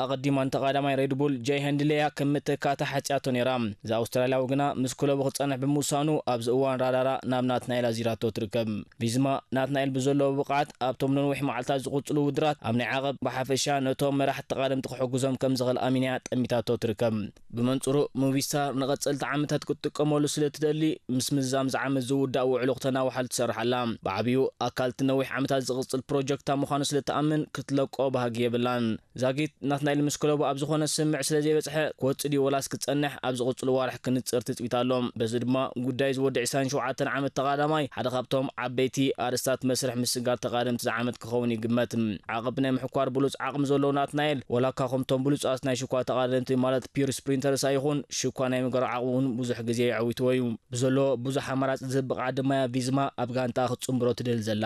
ኣቐዲማ ንተቓዳማይ ሬድቡል ጃይ ሄንድሌያ ከም መተካእታ ሓጽያቶ ነይራ። እዚ ኣውስትራልያዊ ግና ምስ ክለቡ ክጸንሕ ብምውሳኑ ኣብዚ እዋን ራዳራ ናብ ናትናኤል ኣዚራቶ ትርከብ። ቪዝማ ናትናኤል ብዘለዎ ብቕዓት ኣብቶም ነንዊሕ መዓልታት ዝቕጽሉ ውድድራት ኣብ ናይ ዓቐብ ብሓፈሻ ነቶም መራሕቲ ተቓደምቲ ክሕግዞም ከም ዝኽእል ኣሚናያ ጠሚታቶ ትርከብ። ብመንጽሩ፣ ሙቪስታር ንቐጸልቲ ዓመታት ክትጥቀመሉ ስለ ትደሊ፣ ምስ ምዝዛም ዝዓመት ዝውዳእ ውዕሎ ክተናውሓሉ ትሰርሕ ኣላ። ብዓብዩ ኣካል እቲ ነዊሕ ዓመታት ዝቕጽል ፕሮጀክታ ምዃኑ ስለ ትኣምን፣ ክትለቆ ባህጊ የብላን። ዛጊት ናትናኤል ምስ ክለቡ ኣብ ዝኾነ ስምምዕ ስለ ዘይበጽሐ፣ ክወጽእ ድዩ ወላስ ክጸንሕ ኣብ ዝቕጽሉ ዋርሕ ክንጽር ትጽቢት ኣሎ። በዚ ድማ ጉዳይ ዝወዲ ዕስራን ሸውዓተን ዓመት ተቓዳማይ ሓደ ካብቶም ዓበይቲ ኣርእስታት መስርሕ ምስግጋር ተቓደምቲ ዝዓመት ክኸውን ይግመት። ዓቐብ ናይ ምሕኳር ብሉጽ ዓቕሚ ዘለዎ ናትናኤል፣ ወላ እኳ ከምቶም ብሉጻት ናይ ሽኳ ተቓደምቲ ማለት ፒውር ስፕሪንተርስ ኣይኹን፣ ሽኳ ናይ ምግባር ዓቕሙ እውን ብዙሕ ግዜ የዐዊትዎ እዩ። ብዘሎ ብዙሕ ኣማራጺ ዝህብ ብቕዓት ድማ እያ ቪዝማ ኣብ ጋንታ ክትጽንብሮ ትደሊ ዘላ።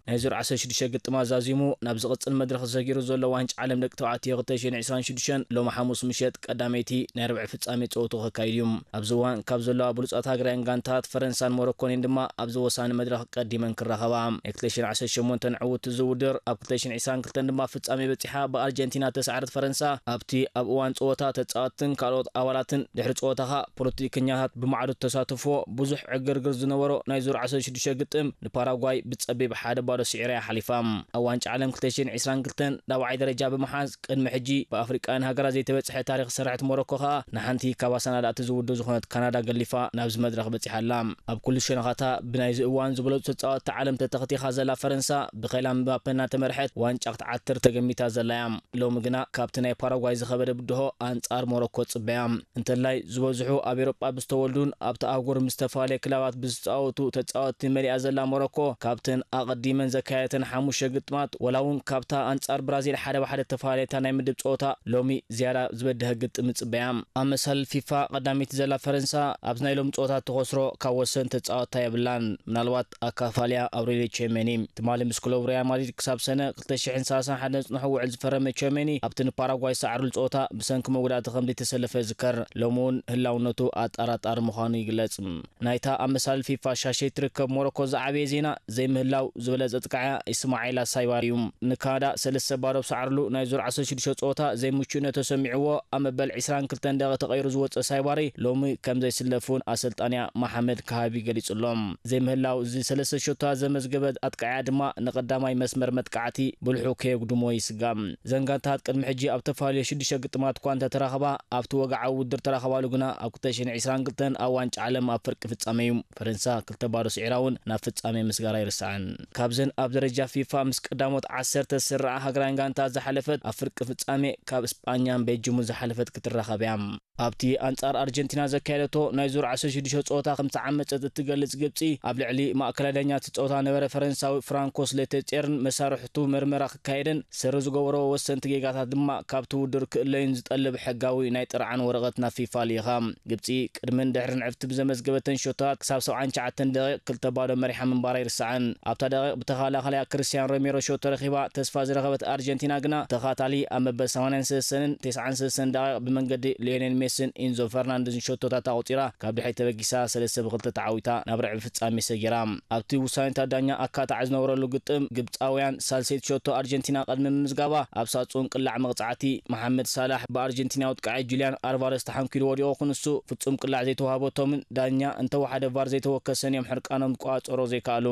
ናይ ዙር ዓሰርተ ሽዱሽተ ግጥም ኣዛዚሙ ናብ ዝቕጽል መድረኽ ተሰጊሩ ዘሎ ዋንጫ ዓለም ደቂ ተባዕትዮ ክልተ ሽሕን ዕስራን ሽዱሽተን ሎሚ ሓሙስ ምሸት ቀዳመይቲ ናይ ርብዒ ፍጻሜ ጸወቱ ከካይድ እዩ። ኣብዚ እዋን ካብ ዘለዋ ብሉጻት ሃገራውያን ጋንታት ፈረንሳን ሞሮኮን እየን ድማ ኣብዚ ወሳኒ መድረኽ ቀዲመን ክራኸባ። ናይ ክልተ ሽሕን ዓሰርተ ሸሞንተን ዕውትቲ እዚ ውድድር ኣብ ክልተ ሽሕን ዕስራን ክልተን ድማ ፍጻሜ በጺሓ ብኣርጀንቲና ተሳዕረት ፈረንሳ ኣብቲ ኣብ እዋን ጸወታ ተጻወትትን ካልኦት ኣባላትን ድሕሪ ጸወታ ኸኣ ፖለቲከኛታት ብማዕዶ ተሳትፎ ብዙሕ ዕግርግር ዝነበሮ ናይ ዙር ዓሰርተ ሽዱሽተ ግጥም ንፓራጓይ ብጸቢብ ሓደ ባዶ ስዒራ እያ ሓሊፋ። ኣብ ዋንጫ ዓለም ክልተ ሽሕን ዕስራን ክልተን ራብዓይ ደረጃ ብምሓዝ ቅድሚ ሕጂ ብኣፍሪቃውያን ሃገራት ዘይተበጽሐ ታሪኽ ዝሰርሐት ሞሮኮ ኸኣ ንሓንቲ ካብ ኣሰናዳእቲ ዝውድብ ዝኾነት ካናዳ ገሊፋ ናብዚ መድረኽ በጺሓ ኣላ። ኣብ ኩሉ ሸነኻታ ብናይዚ እዋን ዝበለጹ ተጻወትቲ ዓለም ተተኸቲኻ ዘላ ፈረንሳ ብኸይላን ምባፔ እናተመርሐት ዋንጫ ክትዓትር ተገሚታ ዘላ እያ። ሎሚ ግና ካብቲ ናይ ፓራጓይ ዝኸበደ ብድሆ ኣንጻር ሞሮኮ ጽበያ። እንተላይ ዝበዝሑ ኣብ ኤውሮጳ ብዝተወልዱን ኣብቲ ኣህጉር ምስ ዝተፈላለየ ክለባት ብዝጻወቱ ተጻወትቲ መሊኣ ዘላ ሞሮኮ ካብተን ኣቐዲመን ዘካየደተን ሓሙሽተ ግጥማት ወላ እውን ካብታ ኣንጻር ብራዚል ሓደ ብሓደ ተፈላለየታ ናይ ምድብ ጸወታ ሎሚ ዝያዳ ዝበድሀ ግጥም ይጽበያ። ኣብ መሳልል ፊፋ ቀዳመይቲ ዘላ ፈረንሳ ኣብዚ ናይ ሎሚ ጸወታ እትኸስሮ ካብ ወሰን ተጻወትታ የብላን። ምናልባት ኣካፋልያ ኣውሬልዮ ቼሜኒ ትማሊ ምስ ክለቡ ሪያል ማድሪድ ክሳብ ሰነ ክልተ ሽሕን ሰላሳን ሓደ ዝጽንሖ ውዕል ዝፈረመ ቼሜኒ ኣብቲ ንፓራጓይ ዝሰዓሩሉ ጸወታ ብሰንኪ መጉዳእቲ ከም ዘይተሰለፈ ይዝከር። ሎሚ እውን ህላውነቱ ኣጠራጣሪ ምዃኑ ይግለጽ። ናይታ ኣብ መሳልል ፊፋ ሻሸይ ትርከብ ሞሮኮ ዝዓበየ ዜና ዘይምህላው ዝበለጸ ጥቃዕያ ኢስማዒላ ሳይባሪ እዩ። ንካናዳ ሰለስተ ባዶ ብሰዓሩሉ ናይ ዙር ዓሰርተ ሽዱሽተ ጸወታ ዘይምቹእነት ተሰሚዕዎ ኣብ መበል ዕስራን ክልተን ደቂቕ ተቐይሩ ዝወጸ ሳይባሪ ሎሚ ከም ዘይስለፍ እውን ኣሰልጣንያ መሓመድ ካሃቢ ገሊጹ ኣሎ። ዘይምህላው እዚ ሰለስተ ሸቶታት ዘመዝገበ ኣጥቃዕያ ድማ ንቐዳማይ መስመር መጥቃዕቲ ብልሑ ከየጉድሞ ይስጋእ። እዘን ጋንታት ቅድሚ ሕጂ ኣብ ተፈላለየ ሽዱሽተ ግጥማት እኳ እንተተራኸባ ኣብቲ ወግዓዊ ውድድር ተራኸባሉ ግና ኣብ ክልተ ሽሕን ዕስራን ክልተን ኣብ ዋንጫ ዓለም ኣብ ፍርቂ ፍጻሜ እዩ ፈረንሳ ክልተ ባዶ ስዒራ እውን ናብ ፍጻሜ ምስጋራ ኣይርሳዕን። ካብዘን ኣብ ደረጃ ፊፋ ምስ ቀዳሞት ዓሰርተ ዝስርዓ ሃገራውያን ጋንታት ዝሓለፈት ኣብ ፍርቂ ፍጻሜ ካብ እስጳኛን ቤልጅሙን ዝሓለፈት ክትራኸብ እያ። ኣብቲ ኣንጻር ኣርጀንቲና ዘካየደቶ ናይ ዙር ዓሰርተ ሽዱሽተ ጸወታ ከም ተዓመጸት እትገልጽ ግብጺ ኣብ ልዕሊ ማእከላይ ዳኛ እቲ ጸወታ ነበረ ፈረንሳዊ ፍራንኮስ ሌቴጼርን መሳርሕቱ መርመራ ክካየድን ስሪ ዝገበሮ ወሰንቲ ጌጋታት ድማ ካብቲ ውድድር ክእለዩን ዝጠልብ ሕጋዊ ናይ ጥርዓን ወረቐት ናብ ፊፋ ልኢኻ። ግብጺ ቅድምን ድሕርን ዕብቲ ብዘመዝገበተን ሸቶታት ክሳብ ሰብዓን ትሽዓተን ደቂቕ ክልተ ባዶ መሪሓ ምንባራ ኣይርሳዕን። ኣብታ ደቂቕ ብተኸላኸላያ ክርስቲያን ሮሜሮ ሸቶ ረኺባ ተስፋ ዝረኸበት ኣርጀንቲና ግና ተኸታታሊ ኣብ መበል ሰማንያን ሰለስተን ተስዓን ሰለስተን ደቂቕ ብመንገዲ ሊዮኔል ሜሲን ኢንዞ ፈርናንዴዝን ሸቶታት ኣቑጺራ ካብ ድሕሪት ተበጊሳ ሰለስተ ብክልተ ተዓዊታ ናብ ርዕቢ ፍጻሜ ሰጊራ። ኣብቲ ውሳኔታት ዳኛ ኣካታዕ ዝነበረሉ ግጥም ግብጻውያን ሳልሰይቲ ሸቶ ኣርጀንቲና ቅድሚ ምምዝጋባ ኣብ ሳጹን ቅላዕ መቕጻዕቲ መሓመድ ሳላሕ ብኣርጀንቲናዊ ኣጥቃዓይ ጁልያን ኣልቫረስ ተሓንኪሉ ወዲቑ ክንሱ ፍጹም ቅላዕ ዘይተዋህበቶምን ዳኛ እንተወሓደ ቫር ዘይተወከሰን እዮም ሕርቃኖም ክቋጸሮ ዘይከኣሉ።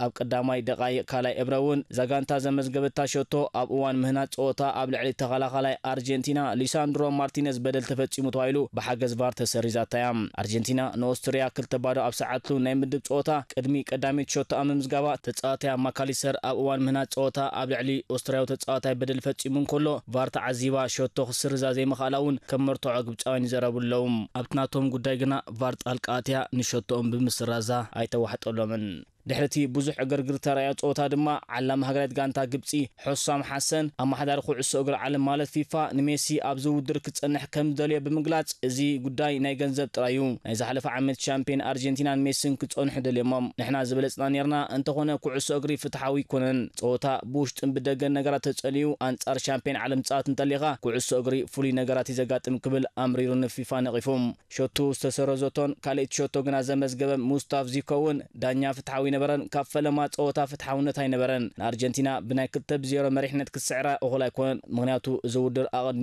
ኣብ ቀዳማይ ደቓይቕ ካልኣይ እብረ እውን እዛ ጋንታ ዘመዝገበታ ሸቶ ኣብ እዋን ምህናጽ ጸወታ ኣብ ልዕሊ ተኸላኻላይ ኣርጀንቲና ሊሳንድሮ ማርቲነዝ በደል ተፈጺሙ ተባሂሉ ብሓገዝ ቫር ተሰሪዛታ እያ። ኣርጀንቲና ንኦስትርያ ክልተ ባዶ ኣብ ሰዓትሉ ናይ ምድብ ጸወታ ቅድሚ ቀዳመይቲ ሸቶ ኣብ ምምዝጋባ ተጻዋታያ ማካሊስተር ኣብ እዋን ምህናጽ ጸወታ ኣብ ልዕሊ ኦስትርያዊ ተጻዋታይ በደል ፈጺሙ እንከሎ ቫር ተዓዚባ ሸቶ ክስርዛ ዘይምኽኣላ እውን ከም መርትዖ ግብጻውያን ይዘረቡ ኣለዉ። ኣብቲ ናቶም ጉዳይ ግና ቫር ጣልቃ ኣትያ ንሸቶኦም ብምስራዛ ኣይተዋሕጠሎምን። ድሕሪ እቲ ብዙሕ ዕግርግር ተራእዮ ጸወታ ድማ ዓላሚ ሃገራዊት ጋንታ ግብጺ ሑሳም ሓሰን ኣመሓዳሪ ኩዕሶ እግሪ ዓለም ማለት ፊፋ ንሜሲ ኣብዚ ውድድር ክጸንሕ ከም ዝደልዮ ብምግላጽ እዚ ጉዳይ ናይ ገንዘብ ጥራይ እዩ። ናይ ዝሓለፈ ዓመት ሻምፒዮን ኣርጀንቲናን ሜሲን ክጸንሑ ደልዮሞም ንሕና ዝበለጽና ኔርና። እንተኾነ ኩዕሶ እግሪ ፍትሓዊ ኣይኮነን። ጸወታ ብውሽጥን ብደገን ነገራት ተጸልዩ ኣንጻር ሻምፒዮን ዓለም ትጻወት እንተሊኻ ኩዕሶ እግሪ ፍሉይ ነገራት እዩ ዘጋጥም ክብል ኣምሪሩ ንፊፋ ነቒፉ። ሸቱ ዝተሰረዘቶን ካልኣይቲ ሸቶ ግና ዘመዝገበ ሙስታፍ ዚኮ እውን ዳኛ ፍትሓዊ ኣይነበረን፣ ካብ ፈለማ ጸወታ ፍትሓውነት ኣይነበረን። ንኣርጀንቲና ብናይ ክልተ ብዜሮ መሪሕነት ክትስዕራ እኹል ኣይኮነን፣ ምኽንያቱ እዚ ውድድር ኣቐድሚ